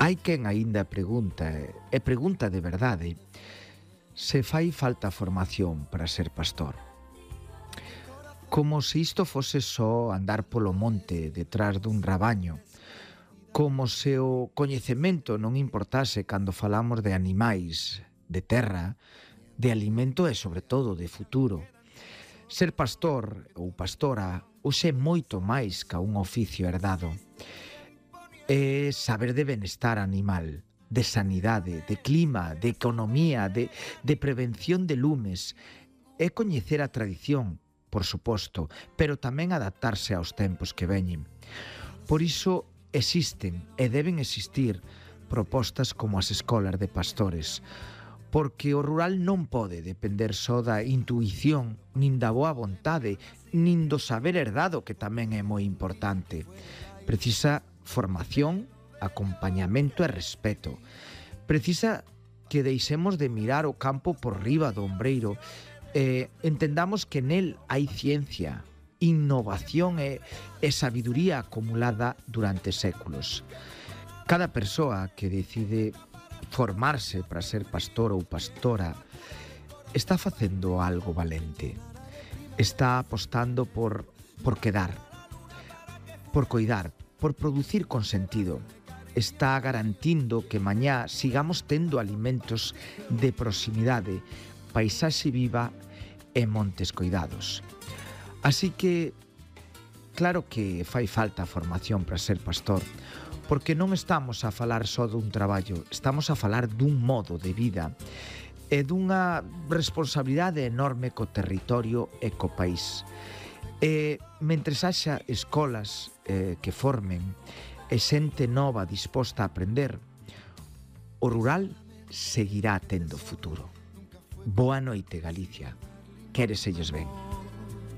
Hai quen aínda pregunta, e pregunta de verdade, se fai falta formación para ser pastor. Como se isto fose só andar polo monte detrás dun rabaño, como se o coñecemento non importase cando falamos de animais, de terra, de alimento e, sobre todo, de futuro. Ser pastor ou pastora hoxe é moito máis ca un oficio herdado. É saber de benestar animal, de sanidade, de clima, de economía, de prevención de lumes. É coñecer a tradición, por suposto, pero tamén adaptarse aos tempos que veñen. Por iso existen e deben existir propostas como as escolas de pastores, porque o rural non pode depender só da intuición, nin da boa vontade, nin do saber herdado, que tamén é moi importante. Precisa formación, acompañamento e respeto. Precisa que deixemos de mirar o campo por riba do ombreiro e entendamos que nel hai ciencia, innovación e sabiduría acumulada durante séculos. Cada persoa que decide formarse para ser pastor ou pastora está facendo algo valente. Está apostando por quedar, por coidar, por producir con sentido. Está garantindo que mañá sigamos tendo alimentos de proximidade, paisaxe viva e montes coidados. Así que, claro que fai falta formación para ser pastor, porque non estamos a falar só dun traballo, estamos a falar dun modo de vida e dunha responsabilidade enorme co territorio e co país. E mentres haxa escolas que formen e xente nova disposta a aprender, o rural seguirá tendo futuro. Boa noite, Galicia. Quéreselles ben.